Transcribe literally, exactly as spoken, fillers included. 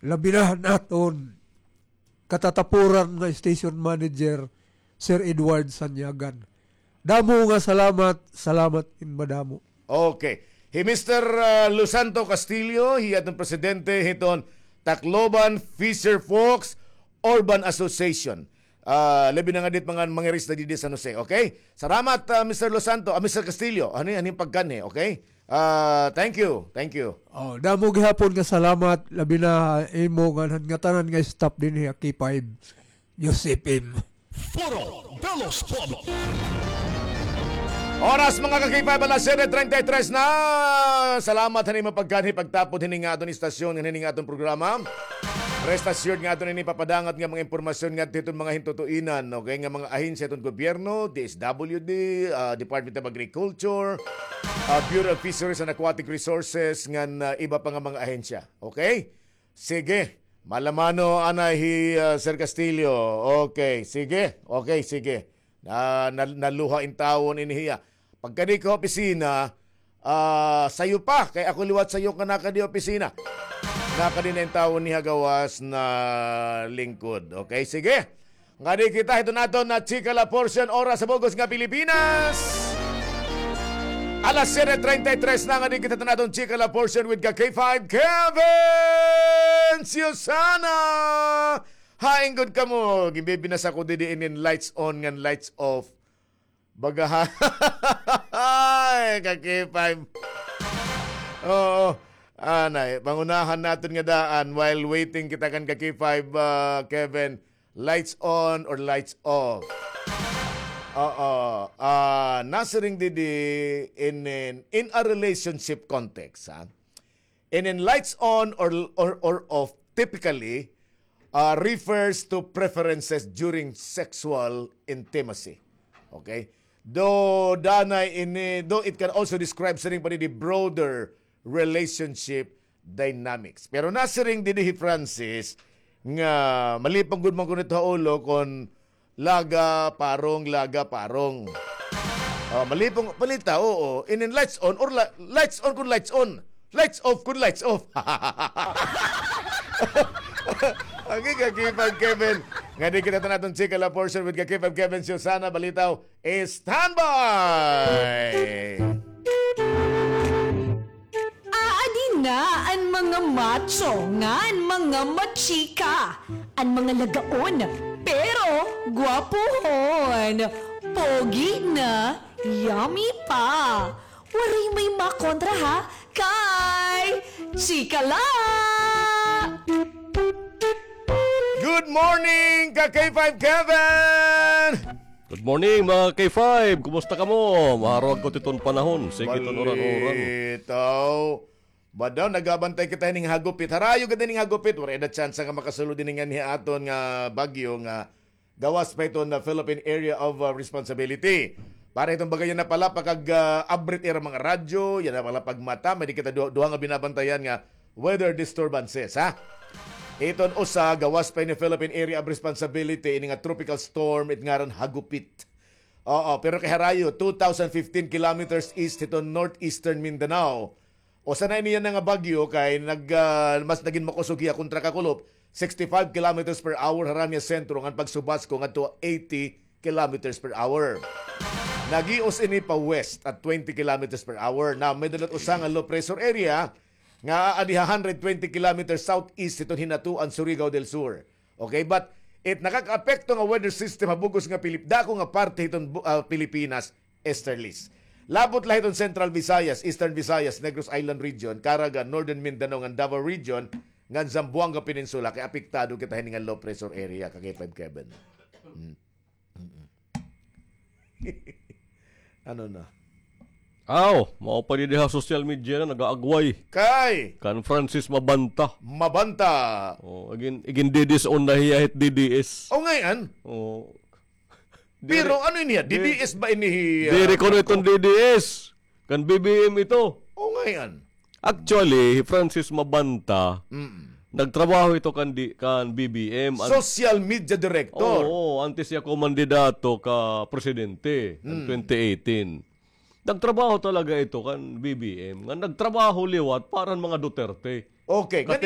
labi na an aton katatapuran nga station manager, Sir Edward Sanyagan. Damo nga salamat, salamat in madamo. Okay. Hi Mister, ah, Lusanto Castillo, hiya aton presidente hiton Tacloban Fisher Folks Urban Association. Ah, labi na nga didi mga mangiris na didi sa San Jose, okay? Salamat, ah, Mister Lusanto, ah, Mister Castillo, ano yan, ano yung pagkanhi, okay? Ah, thank you, thank you. Oh, damo gihapon nga salamat, labi na imo nga ngatanan nga staff dinhi ha K five News F M. Foro de los Pueblos. Oras, mga ka-K five, alas siyete treinta y tres na. Salamat han imo pagkanhi pagtapod hini nga aton istasyon, hini nga aton programa. Rest assured nga aton ini papadangat nga mga impormasyon nga hiton mga hintutuinan, okay, nga mga ahensya hiton gobyerno, D S W D, ah, Department of Agriculture, ah, Bureau of Fisheries and Aquatic Resources, ngan, ah, iba pa nga mga ahensya. Okay? Sige. Malamano anay hi, ah, Sir Castillo. Okay, sige. Okay, sige. Na, na, naluha in tawon ini hiya. Pagkadi ko ha opisina, ah, sayo pa, kay ako liwat sayo nga nakadi opisina. Nakadi na in tawon niha gawas na lingkod. Okay, sige. Ngadi kita hiton aton nga Chika La Portion, oras sa bug-os nga Pilipinas. Alas siyete treinta y tres na, ngadi kita hiton aton Chika La Portion with ka K five Kevin Susana. Hain gud kamo, ginbibinasa ko didi inin lights on ngan lights off. Baga ha-, ay, ka K five. Oo. Anay, pangunahan naton nga daan while waiting kita kan ka K five, ah, Kevin. Lights on or lights off? Oo. Ah, nasiring didi in, in, in a relationship context, ha? And in lights on or, or, or off typically, uh, refers to preferences during sexual intimacy. Okay? Though danay ini, though it can also describe siring pa didi broader relationship dynamics. Pero nasiring didi hi Francis nga malipong gud man kuno ito ha ulo kon laga, parong, laga, parong. Oh, malipong, palita, oo. Inin lights on or la-, lights on kun lights on. Lights off kun lights off. Ang ka K five Kevin. Ngadi kita hiton aton Chika La Portion with ka K five Kevin Susana Balitaw. Standby! Aadi na an mga macho ngan mga machika, an mga lagaon, pero gwapohon, pogi na, yummy pa. Waray may makontra ha, kay chika la! Good morning, ka K five Kevin! Good morning, mga K five. Kumusta kamo? Maharwag ko titon panahon. Sige, iton uran-uran. Balitaw. Ba daw, nagabantay kita hining hagupit. Harayo gad hining hagupit. Waray da tsansa nga makasulod ini nganhi aton nga bagyo nga gawas pa iton na Philippine Area of, uh, Responsibility. Para iton bagay yana palapag, uh, abrit ira mga radyo, yana palapag mata, may di kita du-, duha nga binabantayan nga weather disturbances, ha? Iton usa, gawas pa ini Philippine Area of Responsibility, ini nga tropical storm, it ngaran Hagupit. Oo, pero kay harayo, two thousand fifteen kilometers east hiton northeastern Mindanao. Usa na ini yana nga bagyo kay nag, ah, mas nagin makusog hiya kontra kakulop, sixty-five kilometers per hour harani ha sentro ngan pagsubasko ngadto eighty kilometers per hour. Nagios ini pa west at twenty kilometers per hour. Now, may-ada la usa nga low pressure area nga aadi ha hundred twenty kilometers southeast hiton Hinatuan, Surigao del Sur. Okay, but it nakakaapekto nga weather system ha bug-os nga Pilip-, dako nga parte hiton bu-, ah, Pilipinas, easterlies. Labot la hiton Central Visayas, Eastern Visayas, Negros Island Region, Caraga, Northern Mindanao, ngan Davao Region, ngan Zamboanga Peninsula, kay apektado kita hini nga low pressure area, ka K five Kevin. Mm. Mm-mm. Ano na? Aw, mao pa didi ha social media na nagaagway. Kay? Kan Francis Mabanta. Mabanta. Oh, igin, igin-D D S on na hiya hit D D S. O, ngay-an? Oh. Pero ano ini, D D S ba ini, ah, diri kuno iton D D S. Kan B B M ito. O, ngay-an? Actually, hi Francis Mabanta, mm, nagtrabaho ito kan di-, kan B B M. An-, social media director. Oo, antes hiya kumandidato ka presidente, kan, mm, twenty eighteen. Nagtrabaho talaga ito kan B B M. Nga nagtrabaho liwat para han mga Duterte. Okay, ngan